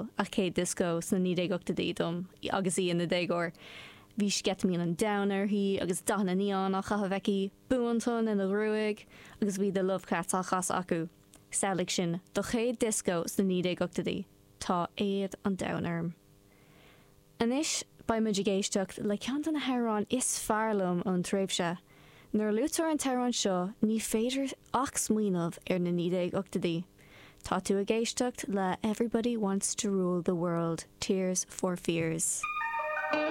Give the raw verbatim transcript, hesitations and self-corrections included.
Mhisael a céad disco sna naoi déag ochtóidí dom agus í ina déagóir. Bhí sceitimíní an domhain uirthi agus dathanna neon á chaitheamh aici, buantonn ina gruaig agus bhí The Love Cats á chasadh acu. Samhlaigh sin, do chéad disco sna naoi déag ochtóidí. Tá éad an domhain orm. Anois beidh muid ag éisteacht le ceann de na hamhráin is fearr liom ón tréimhse. Nuair a luaitear an t-amhrán seo ní féidir ach smaoineamh ar na naoi déag ochtóidí. Tá tú ag éisteacht le Everybody Wants to Rule the World, Tears for Fears.